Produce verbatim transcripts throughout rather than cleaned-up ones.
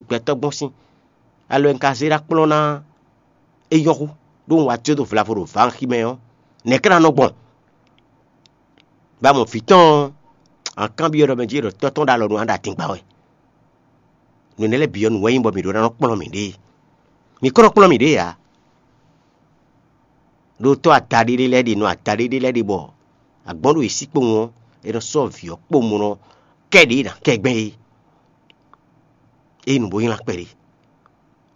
gbɛtɔ́ gbɔn sín. Alɔ e un ka zé ɖó akplɔ́ ná é nyɔ́ hú, ɖó un wá jó dó vlavo ɖo vǎnxi mɛ ɔ́, nɛ̌ ka ná nɔ gbɔn? Ba mɔ vǐ tɔn ɔ́, a kanbyɔ́ ɖɔ mɛ jí ɖɔ tɔ́ tɔn ɖo alɔ nu a ɖo adingba wɛ. Nǔ énɛ́ lɛ́ɛ bǐ ɔ́, nǔ wɛ nyí bɔ mǐ ɖó ná nɔ kplɔ́n mǐɖée. Mǐ ko nɔ kplɔ́n mǐɖée ǎ. Ɖó tɔ́ adaɖé ɖé lɛ́ɛ ɖe nɔ adaɖé ɖé lɛ́ɛ ɖe bɔ agbɔ̌n ɖo yě sí kpowun ɔ́, è nɔ sɔ́ vǐ ɔ́ kpowun bó nɔ kɛ ɖě ná kɛ gbɛn é. Ényí nǔ bó nylá kpɛɖé,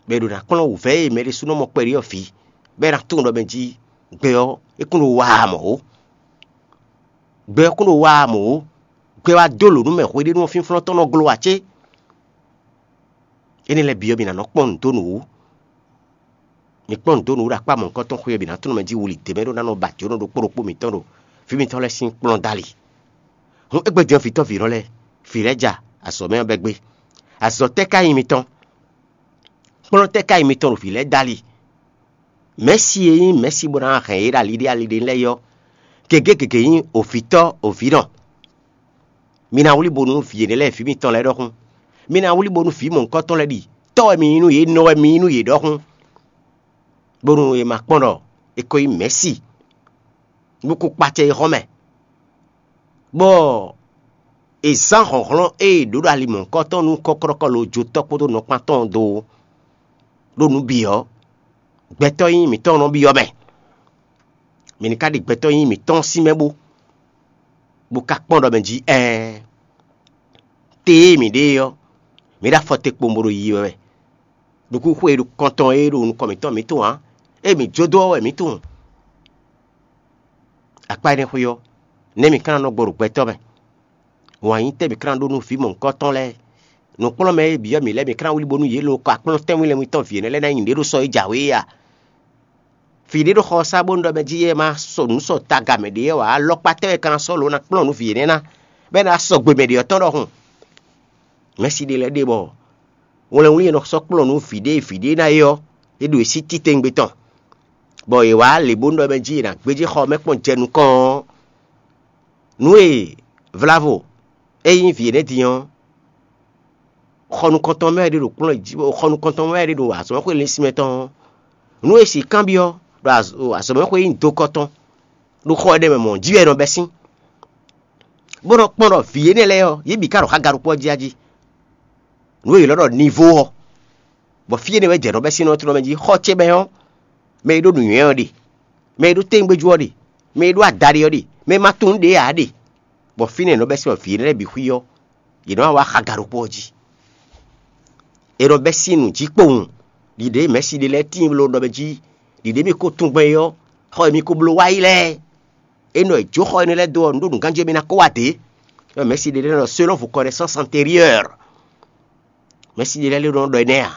bɔ è ɖo ná kplɔ́n wǔvɛ́ e mɛ ɖésúnɔ mɔ kpɛɖé ɔ́ vǐ, bɔ é ná tunwun ɖɔ mɛ jí gbɛ ɔ́, é kún ɖo wa ǎ mɔ̌ ó. Gbɛ ɔ́ kún ɖo wa ǎ mɔ̌ ó. Gbɛ wá dó lǒ nú mɛ hweɖénu ɔ́ fínflɔ́n tɔn nɔ glo ǎ cé? Énɛ́ lɛ́ɛ bǐ ɔ́, mi ná nɔ kpɔ́n nǔ dó nǔ wú. Mi kpɔ́n nǔ dó nǔ ɖo akpá mɔ̌hunkɔtɔn xwé ɔ́ bǐ ná tunwun mɛ jí wuli dě mɛ ɖó ná nɔ ba jǒnɔ ɖokpó ɖokpó mǐtɔn ɖo fí mitɔn lɛ́ɛ sín kplɔ́n dali. Hǔn é gbɛ́ din ɔ́, vǐtɔ́ vǐnɔ lɛ́ɛ, vǐ lɛ́ɛ ja, azɔ̌ mɛ ɔ́ bɛ́ gbé. Azɔ̌ tɛ́ ka nyí mitɔn? Kplɔ́n tɛ́ ka nyí mitɔn ɖo vǐ lɛ́ɛ dali? Mɛ̌si e nyí mɛ̌si bó ná hɛn yě ɖo ali ɖé ali ɖé lɛ́ɛ é ɔ́, gěgé gěgé nyí ovǐtɔ́ ovǐnɔ. Mi ná wlí bo nú vǐ énɛ́ lɛ́ɛ vǐ mitɔn lɛ́ɛ ɖɔhun. Mi ná wlí bo nú vǐ mɔ̌hunkɔtɔn lɛ́ɛ ɖi tɔ́ wɛ mi nyí nú yě, nɔ wɛ mi nyí nú yě ɖɔhun, bónú è ma kpɔ́n ɖɔ è ko nyí mɛ̌si, bó kó kpacɛ yi xɔ mɛ, bɔ è zán hlɔ̌nhlɔ́n e è ɖǒ ɖo ali mɔ̌hunkɔtɔn nú kɔ́klɔ́kɔ́ lo jotɔ́ kpódó nɔkpán tɔn ɔ́ dó ó. Ɖó nǔ bǐ ɔ́, gbɛtɔ́ nyí mǐtɔn nɔ byɔ́ mɛ. Mi ní ka ɖi gbɛtɔ́ nyí mǐtɔn sín mɛ bó, bó ka kpɔ́n ɖɔ mɛ jí ɛɛ, te e mǐ ɖe é ɔ́, mǐ ɖo afɔ te kpowun bó ɖo yiyi wɛ wɛ. Nukúnxwe e ɖo kɔntɔn e ɖo nukɔn mǐtɔn mǐ tunwun ǎ, ée mǐ jó dó ɔ́ wɛ mǐ tunwun. Akpá énɛ́ xwé ɔ́, nɛ̌ mǐ ka ná nɔ gbɔ ɖo gbɛtɔ́ mɛ? Wǎn yí tɛ́ mǐ ka ná ɖó nú vǐ mɔ̌hunkɔtɔn lɛ́ɛ? Nǔkplɔ́nmɛ e byɔ́ mǐ lɛ́ɛ, mǐ ka ná wlí bónú yě lo kɔ akplɔ́n tɛ́nwínlɛ́nwí tɔn vǐ énɛ́ lɛ́ɛ ná nyi nǔɖé ɖo sɔ e jǎwe é a? Vǐ ɖé ɖo xɔ ɔ́ sá bónú ɖɔ mɛ jí é ma sɔ nǔ sɔ taga mɛ ɖě wɛ ǎ, alɔkpa tɛ́ wɛ ka ná sɔ́ lǒ ná kplɔ́n nǔ vǐ énɛ́ ná, bɔ é ná sɔgbe mɛ ɖě ɔ́ tɔn ɖɔhun? Mɛ̌si ɖé lɛ́ɛ ɖe bɔ wlɛnwlí e nɔ sɔ́ kplɔ́n nǔ vǐ ɖé vǐ ɖé ná é ɔ́, é ɖo é sí titewungbe tɔn, bɔ è wǎ lě bónú ɖɔ mɛ jí è nǎ gbéjé xɔ ɔ́ mɛ kpɔ́n jɛ nukɔn ɔ́, nǔ e vlavo é nyí vǐ énɛ́ din ɔ́, xɔ nukɔntɔn mɛ wɛ é ɖe ɖo kplɔ́n jí, xɔ nukɔntɔn mɛ wɛ é ɖe ɖo azɔ̌mɛxwé linsin mɛ tɔn ɔ́, nǔ e è sixú kanbyɔ́ ɖo azɔ̌mɛxwé nyí dokɔ tɔn ɖo xɔ énɛ́ mɛ mɔ̌ jí wɛ è nɔ bɛ́ sín, bó nɔ kpɔ́n ɖɔ vǐ énɛ́ lɛ́ɛ ɔ́, yě bǐ ka ɖo xága ɖokpó ɔ́ jí a jí. Nǔ e è ylɔ́ ɖɔ nivo ɔ́, bɔ fí énɛ́ wɛ jɛ nɔ bɛ́ sín nɔ́ tlɔ́ mɛ jí. Xɔ ce mɛ ɔ́, mɛ e ɖó nǔnywɛ́ ɔ́ ɖe, mɛ e ɖó tɛ́ngbéjú ɔ́ ɖe, mɛ e ɖó adaɖé ɔ́ ɖe, mɛ e ma tunwun nǔɖé ǎ ɖe, bɔ fínɛ́ è nɔ bɛ́ sín bɔ vǐ énɛ́ lɛ́ɛ bǐ xwí ɔ́, yě nɔ wá wá xaga ɖokpó ɔ́ jí. È nɔ bɛ́ sín nǔ jí kpowun. Ɖiɖě mɛ̌si ɖé lɛ́ɛ tíin bló ɖɔ mɛ jí, ɖiɖě mi ko tunwun gbɛn é ɔ́, xɔ e mi ko bló wá yi lɛ́ɛ, é nɔ è jó xɔ énɛ́ lɛ́ɛ dó ɔ́, nǔ ɖo nǔganjí e mi ná kó wá dě. Mɛ̌si ɖé lɛ́ɛ nɔ selon vukɔnɛsán antérieur. Mɛ̌si ɖé lɛ́ɛ nɔ ɖɔ énɛ́ ǎ.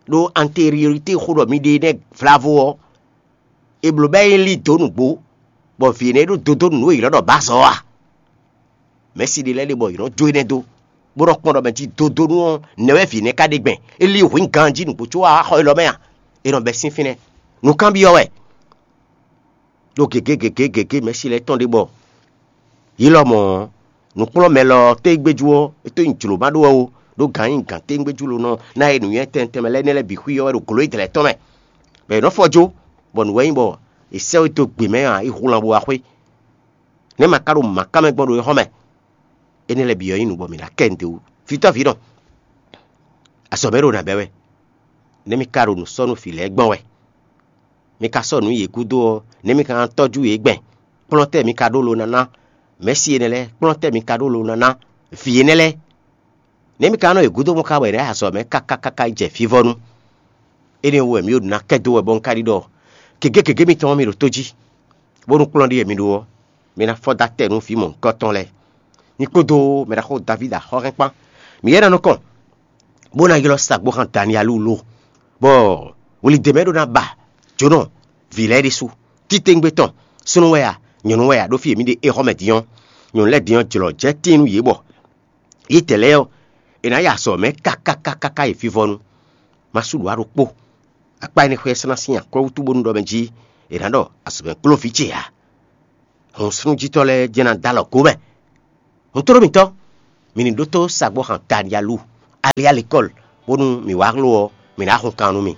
Ɖó antériorité xó ɖɔ mi ɖe énɛ́ vlavo ɔ́, è blǒ bɔ é lí dǒ nǔgbó, bɔ vǐ énɛ́ ɖó dodó nǔ e è ylɔ́ ɖɔ bǎzɔ́ ɔ́ a? Mɛ̌si ɖé lɛ́ɛ ɖe bɔ yě nɔ jó énɛ́ dó, bó nɔ kpɔ́n ɖɔ mɛ jí dodónú ɔ́, nɛ̌ wɛ vǐ énɛ́ ka ɖe gbɛn? É lí hwǐn ganjí nǔgbó có wá xɔ élɔ́ mɛ a? È nɔ bɛ́ sín fínɛ́. Nǔkanbyɔ́ wɛ. Ɖó gěgé gěgé gěgé mɛ̌si lɛ́ɛ tɔn ɖe bɔ yě lɔmɔ̌ ɔ́, nǔkplɔ́nmɛ lɔ ɔ́ tégbéjú ɔ́, é tó nyi jlǒ ma ɖó wɛ ó, ɖó gǎn nyi gǎn tégbéjú ló nɔ ná e nǔnywɛ́ tɛnmɛ tɛnmɛ lɛ́ɛ énɛ́ lɛ́ɛ bǐ xwí ɔ́ wɛ ɖo glǒ e dlɛ̌ tɔn mɛ, bɔ è nɔ́ fɔ jó, bɔ nǔ wɛ nyí bɔ è sɛ́ we dó gbě mɛ ǎ, é hu lan bo wá xwé. Nɛ̌ ma ka ɖo mǎká mɛ gbɔn ɖo é xɔ́ mɛ? Énɛ́ lɛ́ɛ bǐ ɔ́ nyí nǔ bɔ mǐ ná kɛ nǔɖé wú. Vǐtɔ́ vǐ nɔ, azɔ̌ mɛ ɖo nǎ bɛ́ wɛ. Nɛ̌ mi ka ɖo nǔ sɔ́ nú vǐ lɛ́ɛ gbɔn wɛ? Mi ka sɔ́ nǔ yě gúdo ɔ́, nɛ̌ mi ka ná tɔ́jú yě gbɛn? Kplɔ́n tɛ́ mi ka ɖó lo ná ná mɛ̌si énɛ́ lɛ́ɛ? Kplɔ́n tɛ́ mi ka ɖó lo ná ná vǐ énɛ́ lɛ́ɛ? Nɛ̌ mi ka nɔ yě gúdo mɔ ka wɛ ɖɛ̌ azɔ̌ mɛ káká káká yi jɛ vivɔnu? Énɛ́ wú wɛ mǐ ɖo nǔ ná kɛ dó wɛ bɔ un ka ɖi ɖɔ gěgé gěgé mitɔn ɔ́, mi ɖo tó jí, bónú kplɔ́n ɖíe mi ɖó ɔ́, mi ná fɔ́ dó atɛ nú vǐ mɔ̌hunkɔtɔn lɛ́ɛ. Nyí kpódó mɛɖaxó Davídi axɔ́hɛn kpán. Mǐ yɛ ná nɔ kɔn, bó ná ylɔ́ sagbóxán Daniyalu lo, bɔ wlidě mɛ ɖó ná ba jǒnɔ vǐ lɛ́ɛ ɖésú. Titewungbe tɔn, súnnu wɛ a, nyɔ̌nu wɛ a, ɖó fí e mǐ ɖe éhɔ́ mɛ din ɔ́, nyɔ̌nu lɛ́ɛ din ɔ́, jlɔ̌ jɛ tíin nú yě bɔ yětɛn lɛ́ɛ ɔ́, è nǎ yi azɔ̌ mɛ káká káká yi vivɔnu. Ma sú ɖǒ ɖokpó. Akpá énɛ́ xwé ɔ́ sɔ́ ná sín akwɛ́ wútu bónú ɖɔ mɛ jí è nǎ ɖɔ azɔ̌ mɛ kplɔ́n vǐ ce ǎ. Hɔn súnnu jítɔ́ lɛ́ɛ jɛ́n ná dó alɔ gǒ mɛ. Hɔntoɖó mǐtɔn, mi ní ɖótó sagbó xan Daniyalu, ali alekɔ́l, bónú mǐ wá xló ɔ́, mǐ ná hun kan nú mì.